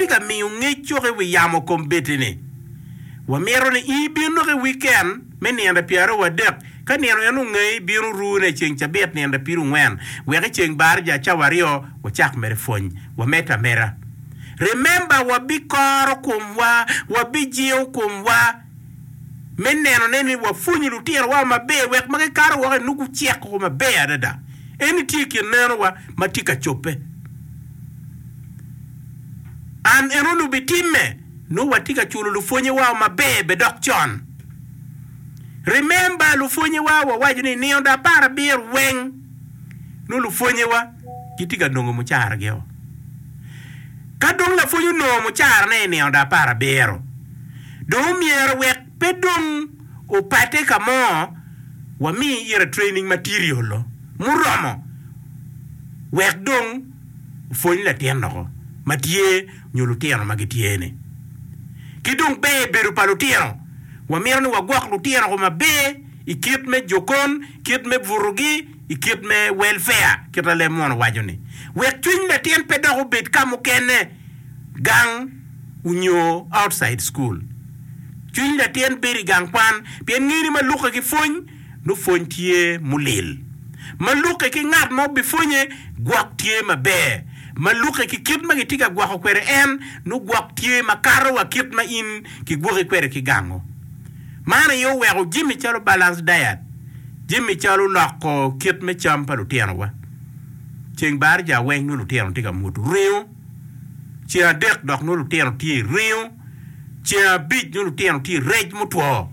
watye ka miyo ngec cok i wi yamo kombeddi-ni, wamito ni in ibin dok i wiken me nino 23. Ka nino en ongeyi, bin orune i ceng cabit nino 40, wek i ceng baraja cawa aryo wacak mere pwony. Wamedde ameda. Remember, wabikoro komwa, wabijingo komwa me nenone ni wapwonyo lutinowa maber wek ma gikato woko i nongo gucek woko maber adada. Eni tye i kin nenowa ma tye ka cobbe. An enoni obitimme, nongo watye ka culo lupwonyewa maber be dok con. Remember, lupwonyewa wawaco ni nino do aparabiro weng nongo lupwonyewa gitye ka nongo mucaragio. Ka dong lapwony onongo mucarane i nino do aparabiro, dong omyero wek pe dong opate ka mo, wami ire training material muromo wek dong opwony latin loko ma tye nyo lutino ma gitye-ni. Ki dong ber bedo pa lutino, wamito ni wagwok lutino-gu maber i kit me jokon, kit me butogi, i kit me welfare, kit ma leb munu waco-ni, wek cwiny latin pe dok obed ka mukene, gang onyo outside school. Cwiny latin bedo i gang kwan pien ngeni ma lukke ki pwony, nongo pwony tye mulil. Ma lukke ki ngat ma obipwonye, gwok tye maber. Ma lukke ki kit ma gitye ka gwoko kwede en, nongo gwok tye makato wa kit ma in kigwoki kwede ki gango. Man aye oweko jami calo balanced diet, jami calo loko kit me cam pa lutinowa. Ceng baraja weng nongo lutino tye ka muto ringo, ceng adek dok nongo lutino tye i ringo, ceng abic nongo lutino tye i rec mutwo.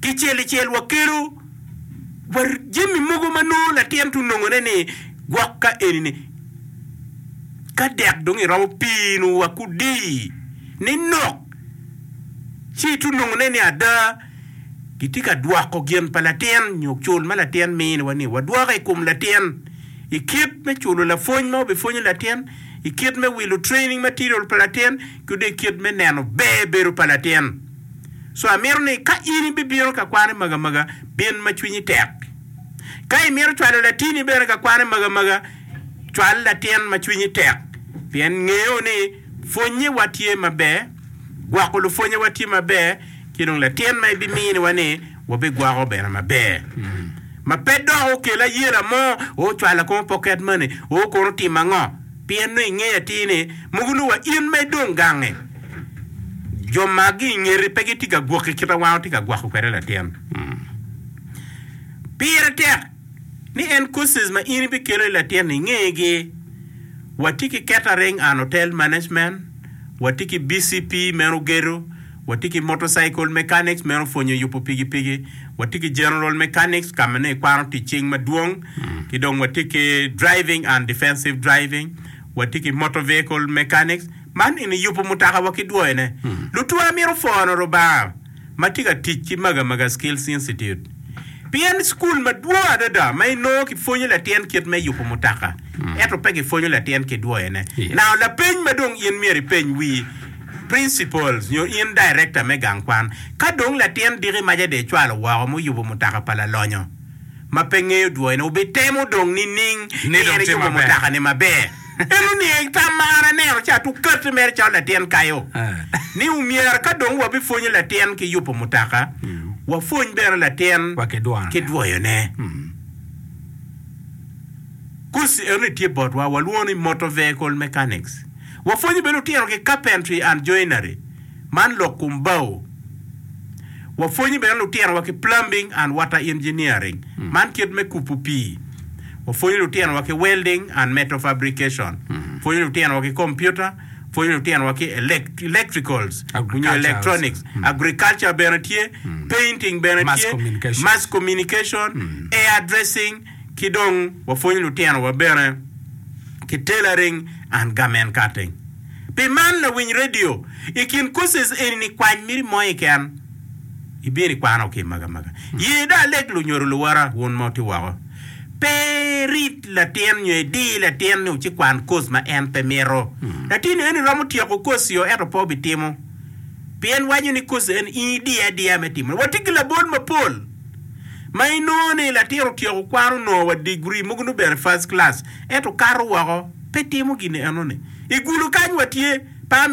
Kicel icel wakelo wa jami mogo ma nongo latin tye onongone ni gwok ka eni-ni ka dek dong iromo pii-nu wa kudi ni nok ci itye onongone ni ada gitye ka dwoko gin pa latin nyo cul ma latin miniwa ni wadwoko i kom latin i kit me culo lapwony ma obipwonyo latin, i kit me wilo training material pa latin ki dong i kit me neno ber bedo pa latin. So amito ni ka in ibibino ka kwan i Magamaga, bin ma cwinyi tek. Ka imito cwalo latini bene ka kwan i Magamaga, cwal latin ma cwinyi tek pien ngeyo ni pwonnyewa tye maber, gwoko lupwonnyewa tye maber, ki dong latin ma ibiminiwa ni wabigwoko bene maber. Ma pe dok okel ayela mo, o cwala kono pocket money, o kono otimo ango, pien nongo ingeyo atir ni mogo nongo wa in ma idong gange, jo ma gi ingeti pe gitye ka gwoki kit ma wan watye ka gwoko kwede latin. Pire tek ni en courses ma in ibikelo i latin-ni ingegi. Watye ki Catering and Hotel Management, watye ki BCP meno gedo, watye ki Motorcycle Mechanics meno pwonyo yubo pikipiki, watye ki General Mechanics ka ma nongo ikwano tic cing madwong, ki dong watye ki Driving and Defensive Driving, watye ki Motor Vehicle Mechanics. Man eni yubo mutoka wa ki dwoyone. Lutwa mito pwono Rubanga ma tye ka tic ki Magamaga Skills Institute pien cukul madwong adada ma inongo kipwonyo latin kit me yubo mutoka ento pe kipwonyo latin ki dwoyone. Now lapeny ma dong in myero ipeny wi principals nyo in director me gang kwan ka dong latin diki maca dong icwalo woko muyubo mutoka pa lalonyo ma pe ngeyo dwoyone obitemo dong nining Ni ni dong en tye eyubo maber. mutoka-ni maber? En oniang tam ma an aneno ca tukati mere calo latin kayo, ni omyero ka dong wabipwonyo latin ki yubo mutoka, wapwony bene latin Wa ki dwoyone. ki dwoyone. Koci enoni tye botwa, walwongo ni motor vehicle mechanics. Wapwonyo bene lutino ki carpentry and joinery, man lok kom bao. Wapwonyo bene lutinowa ki plumbing and water engineering, man kit me kubo pii. Wapwonyo lutinowa ki welding and metal fabrication. Pwonyo lutinowa ki computer, pwonyo lutinowa ki electricals nyo Agriculture electronics. Agriculture bene tye, painting bene Mass tye, communication. mass communication, hair dressing ki dong wapwonyo lutinowa bene ki tailoring and garment cutting. Pi man lawiny radio, i kin courses eni ni kwany miti mo keken ibino ikwano ki maga maga. Ye dong aleg lunyodo luwota wun ma wutye woko, pe irit latin nyo idi latin ni ocikwan course ma en pe mito. Latin eni romo tyeko course yo ento pe obitimo pien waco ni course eni in idiye adiya me timone. Watye ki labol mapol ma inongo ni latin otyeko kwan onongo wa degree mogo nongo bene first class ento kato woko pe timo gin enoni. I gulu kany watye, pe amito.